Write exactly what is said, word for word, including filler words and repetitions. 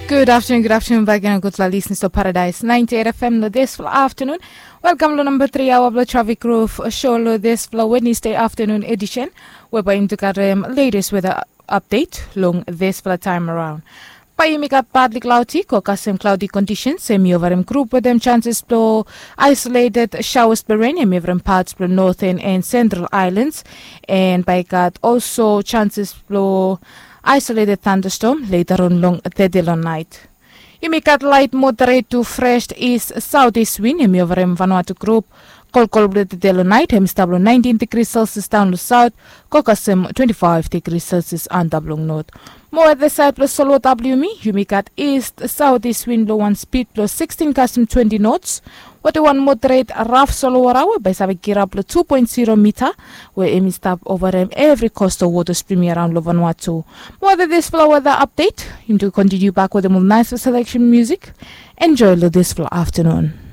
Good afternoon, good afternoon back again, gudfala listeners to Paradise ninety-eight F M lo this fala afternoon. Welcome lo number three hour of the Traffic Roof show lo this fala Wednesday afternoon edition. Whereby yumi gat um, latest weather update long this fala time around. Bai yumi gat partly cloudy ko kasem cloudy conditions, em i ovarim group with them chances blo isolated showers blo rain, em i ovarim parts blo northern and central islands. And bai gat also chances blo isolated thunderstorm later on long tede long night. Yumi gat light moderate to fresh east southeast wind, em i ovarim Vanuatu group. Kolkol blo tede long night, em i stap long nineteen degrees Celsius down long south, ko kasem twenty-five degrees Celsius antap long north. Mo at the side blo Solwar W yumi, yumi gat east southeast wind blo one speed blo sixteen kasem twenty knots. Wate wan moderate raf solowara we bai save kirap lo two point zero mita, we em i stap ovarim evri coastal waters blo yumi araon lo Vanuatu. Mo at this fala weather update, yumi tu continue back with them with nice selection music. Enjoy lo this fala afternoon.